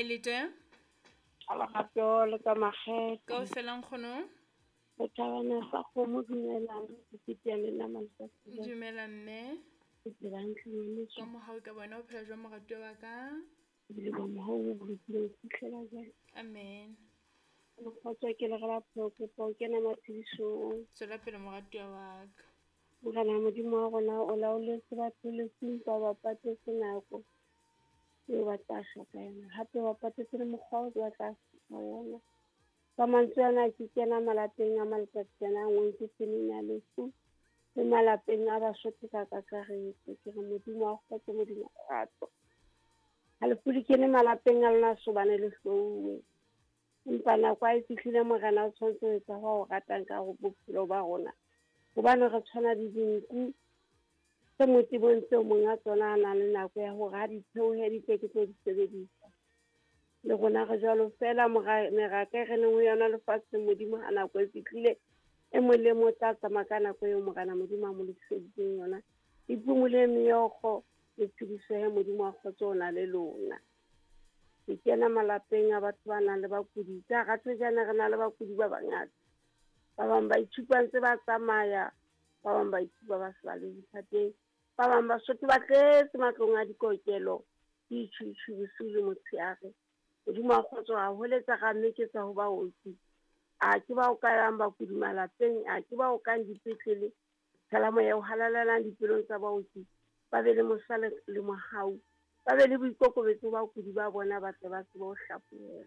Kae le teng? Lerato le ka makgethe. Kaofela nkgono. Re thabana sa kgomo dumelang ke le nna maletsatsi. Dumela mme. Ke phela hantle ngwaneso. Ka mohau ka bona o phela jwang moratuwa wa ka? Ebile ba mohau o bolokile ho fihlela jwale. Amen. Mokgotso ke le re la pheo kopa o kena matshedisong. Tswela pele moratuwa wa ka. Morena Modimo wa rona o laoletse batho lefung ba ba patetse nako eo ba tla shwa ka yona. Hape ba patetse le mokgwa oo ba tla shwa ka yona. Ka mantswe ana ke kena malapeng a maletsatsi ana a nngwe ke tseleng ya lefu le malapeng a Basotho ka kakaretso. Ke re Modimo wa kgotso, Modimo wa kgotso. Ha lefu le kene malapeng a lona sobane le hlouwe. Empa nako ha e fihlile Morena o tshwanetse ho etsa ho ratang ka bophelo ba rona. Hobane re tshwana le dinku tse motebong tseo monga tsona a nang le nako ya hore ha di theohe di tle ke tlo di sebedisa. Le rona re jwalo feela meraka e re leng ho yona lefatsheng Modimo ha nako e fihlile e mong le mong o tla tsamaya ka nako eo Morena Modimo a mo lokiseditseng yona. Le phumule meokgo le tshedisohe Modimo wa kgotso o na le lona. Ke kena malapeng a batho ba nang le bakudi. Ka hara thojana re na le bakudi ba bangata. Ba bang ba itshupa ntse ba tsamaya, ba bang ba itshupa ba se ba le diphateng, ba bang Basotho ba tletse matlong a dikokelo, ke itjhuitjhui bosiu le motshehare. Modimo wa kgotso a holetsa ra mmeketsa ho baoki. A ke ba o kayang bakudi malapeng, a ke ba o kang dipetlele. Tshela moya o halalelang dipelong tsa baoki, ba be le mosa le mohau, ba be le boikokobetso bakudi ba bona ba tle ba tsebe ho hlaphohelwa.